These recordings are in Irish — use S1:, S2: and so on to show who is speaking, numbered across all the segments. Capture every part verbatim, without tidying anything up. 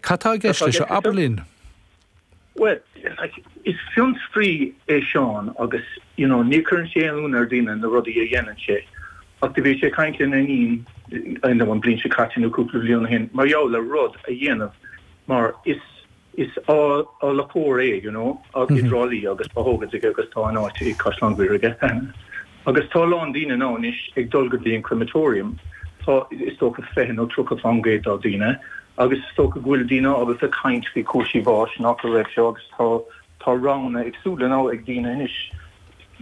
S1: Cad tá i gceist leis seo abair linn?
S2: Well, like, is fiontraí é Seán agus you know, ní chuireann sé aon ionadh ar daoine na rudaí a dhéanann sé. Ach do bhí sé ag caint lena iníon an bhliain seo caite nó cúpla bliain ó shin mar gheall le rud a dhéanamh mar is is adhlacóir é you know, i dTrá Lí agus tá thógaint aige agus tá an áit i Caisleán Bhaile aige. Agus tá a lán daoine now anois ag dul go dtí an crematorium tá is dócha fiche nó tríocha faoin gcéad dá daoine agus is dócha go bhfuil daoine ábalta caint faoi cúrsaí báis nach raibh seo agus tá tá roghanna éagsúla now ag daoine anois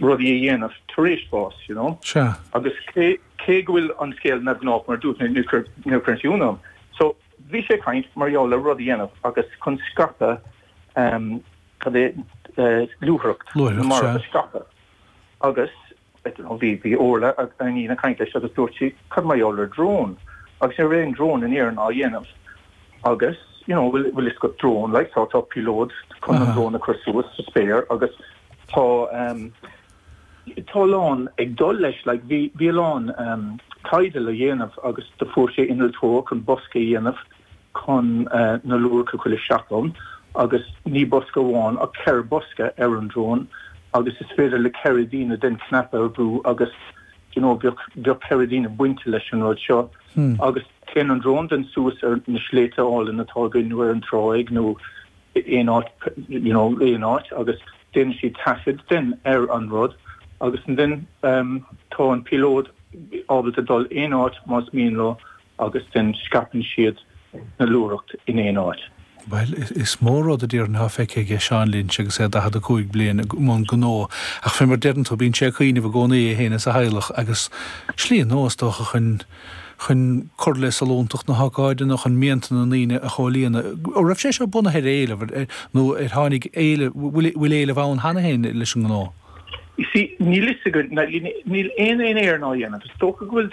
S2: rudaí a dhéanamh tar éis bás you know
S1: Sea.
S2: agus cé cé go bhfuil an scéal neamhghnách mar dúirt ní chuireann sé ionadh orm. So bhí sé ag caint mar gheall le rud a dhéanamh agus chun scaipeadh um, cad é uh, luaithreacht
S1: Luaithreacht,
S2: mar
S1: sea.
S2: a scaipeadh. Agus I don't know, bhí bhí Orla a iníon ag caint leis agus dúirt sí cad mar gheall ar drone agus ní raibh aon drone in Éirinn á dhéanamh agus you know bhfuil bhfuil is go drone like tá tá píolóid chun an
S1: Aha.
S2: drone a chur suas sa spéir agus tá um, tá a lán ag dul leis like bhí bhí a lán um, taighde le dhéanamh agus do fuair sé innealtóir chun bosca a dhéanamh chun uh, na luaithreach a chur isteach ann agus ní bosca amháin ach ceithre bosca ar an drone agus is féidir le ceithre daoine den cnaipe a bhrú agus you know bheadh bheadh ceithre daoine bainte leis an rud seo
S1: Hmm.
S2: agus téann an drone den suas ar na sléibhte álainn atá againn nó ar an tráigh nó aon áit you know aon áit agus déanann siad taifead den ar an rud agus den um, tá an píolóid ábalta dul aon áit más mian leo agus den scaipeann siad na luaithreacht in aon áit.
S1: Well, is, is mór rud a d'iarrann ha feice aige Seán Lynch agus é daichead a cúig bliain i mbun gnó ach fé mar deireann tú bíonn sé ag cuimhneamh i gcónaí é féin is a theaghlach agus slí nua is dócha chun chun cur le sollúntacht na hócáide nó chun mianta na ndaoine a chomhlíonadh. Ó raibh sé seo bunaithe ar éileamh ar- nó ar tháinig éileamh bhfuil bhfuil éileamh ann cheana féin leis an ngnó.
S2: You see, níl fhios agam níl aon aon éar ná dhéanamh, is dócha go bhfuil